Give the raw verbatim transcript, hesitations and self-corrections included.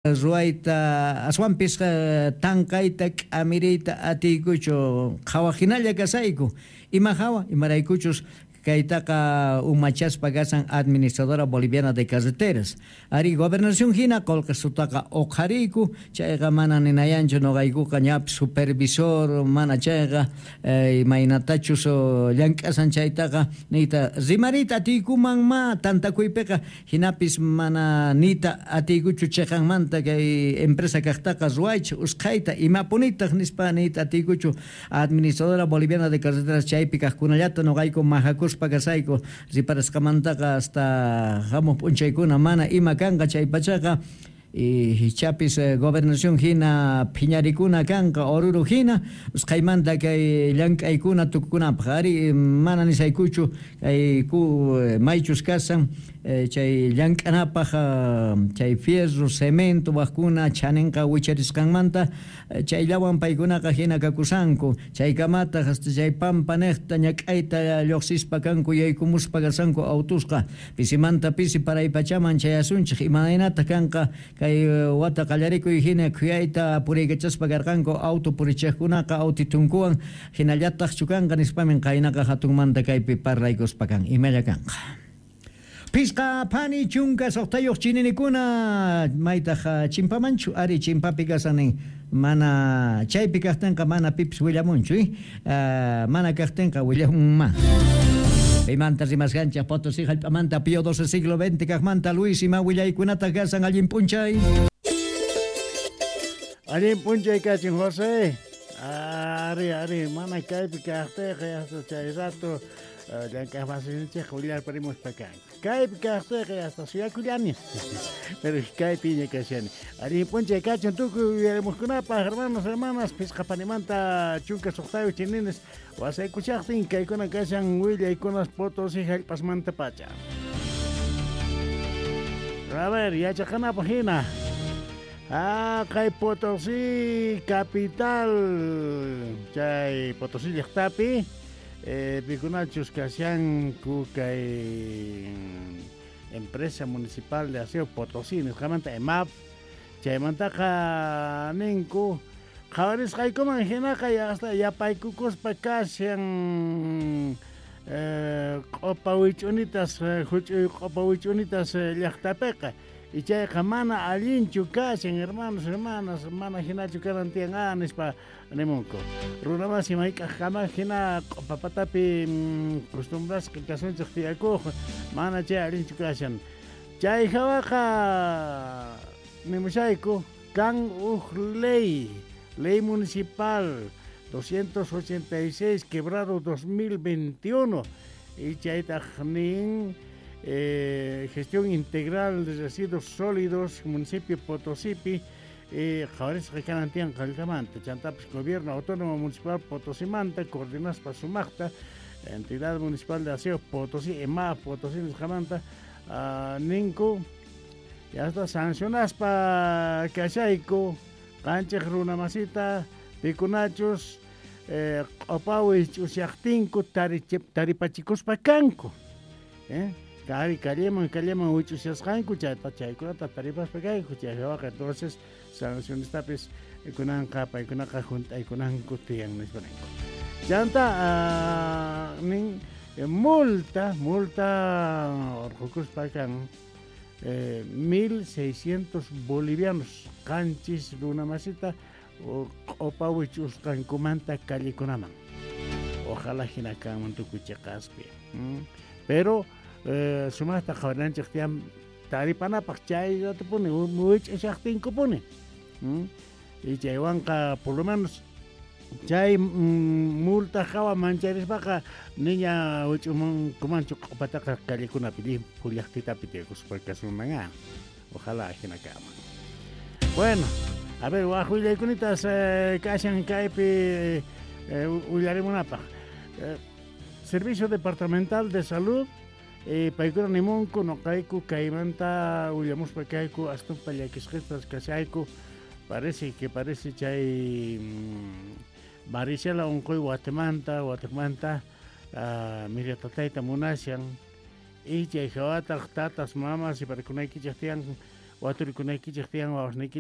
Ruwayta aswanpis tanqayta k'amiriyta atiykuchu qhawajinalla kasayku ima hawa imaraykuchus kaytaqa umachaspa kasan Administradora Boliviana de Carreteras ari gobernación hina qullqisutaqa uqhariyku chayqa mana ninayanchu nuqaykuqa ñapis supervisor mana chayqa imaynatachus llank'asan chaytaqa niyta rimariyta atiykuman ma tantakuypiqa hinapis mana niyta atiykuchu chiqanmanta kay empresa kaqtaqa ruwaychik usqhayta imapunitaq nispa niyta atiykuchu Administradora Boliviana de Carreteras chaypi kaqkunallata nuqayku majakuspa kasayku riparasqamantaqa hasta hamuq p'unchaykuna mana ima kanqa chay pachaqa y chapis gobernación hina phiñarikuna kanqa Oruro hina usqhaymanta kay llank'aykuna tukukunapaq ari mana nisaykuchu kay ku maychus kasan chay llank'anapaq chay fierro cemento waqkuna chaninqa wicharisqanmanta chayllawan paykunaqa hina kakusanku chaykamataq hasta chay pampa niqta ñak'ayta lluqsispa kanku yaykumuspa kasanku autusqa pisimanta pisi paraypachaman chayasunchik imaynataq kanqa kay wata qallarikuy hina khuyayta puriykachaspa karqanku auto purichiqkunaqa autitunkuwan hinallataqchu kanqa nispamin qaynaqa hatunmanta kaypi parlaykuspa kan imalla kanqa. Pisqa phani chunka suqtayuq chininikuna maytaq chimpamanchu ari chimpapi kasanin mana chaypi kaqtinqa mana pipis willamunchu uh, mana kaqtinqa willamunman. Paymanta rimasqanchik Potosí hallp'amanta Pío doce siglo veinte kaqmanta Luis ima willaykunataq kasan allin p'unchay. Allin p'unchay kachin José. Ari ari mana kaypi kaqtiqa hasta chay rato llank'aqmasinchik willarparimuspa kanku. Kaypi kaqtiqa hasta suyakullani. Pero kaypiña kashani. Allin p'unchay kachin tukuy uyarimuqkunapaq hermanos hermanas pisqa panimanta chunka suqtayuq chinines wasaykuchaqtin kaykuna kashan willaykunas Potosí hallp'asmanta pacha. A ver, yachaqanapaq hina. Ah, kay Potosí capital chay Potosí llaqtapi eh, pikunachus kashanku kay empresa municipal de aseo Potosí nisqamanta EMAP chaymantaqa ninku qhawarisqaykuman hinaqa hasta yapaykukuspa kashan eh, q'upa wich'unitas huch'uy q'upa wich'unitas llaqtapiqa y chayqa mana allinchu kashan hermanos hermanas mana hinachu kanan tiyan ah nispa nimunku runamasi mayk'aqkama hina q'upapatapi costumbrasqa kasunchik tiyakuq mana chay allinchu kashan chay hawaqa nimushayku kan uj ley ley municipal doscientos ochenta y seis quebrado dos mil veintiuno y chaytaq nin Eh, gestión integral de residuos sólidos municipio Potosípi eh, qhawarisqa kanan tiyan qallqamanta chantapis gobierno autónomo municipal Potosimanta coordinaspa sumaqta entidad municipal de aseo Potosí EMAP Potosí nisqamanta uh, ninku yasta sancionaspa kashayku qanchik runamasita pikunachus eh, q'upawi ch'usyaqtinku taripachikuspa kanku eh? Kari calleman calleman wich'usyasqanku chayta chaykunata taripaspa kanku chaywaqa entonces sancionestapis kunanqa paykunaqa hunt'aykunanku tiyan nispa ninku chanta uh, nin multa multa urqukuspa kan eh, mil seiscientos bolivianos qanchis runamasita q'upa wich'usqankumanta callekunaman ojalá hina kanman tukuy chiqaspi mm? Pero Eh, sumaqta qhawarinanchik tiyan taripanapaq chay ratupuni wich'ushaqtinkupuni mm? Y chaywanqa por lo menos chay mm, multa hawa mancharispaqa niña wich'umunkumanchu q'upataqa callekunapi llimphu llaqtitapi tiyakuspa kasunman ah ojalá hina kanman. Bueno, a ver waq willaykunitas eh, kashan kaypi eh, willarimunapaq eh, Servicio Departamental de Salud Eh, paykuna nimunku noqayku kaymanta willamuspa kayku astumpa llakisqistas kashayku parece que parece chay mmm, varicela unquy Guatemanta Guatemanta uh, miratatayta munashan y chay hawataq tatas mamas y parikunaykichik tiyan Waturikunaykichej tiyan wawasniykichej.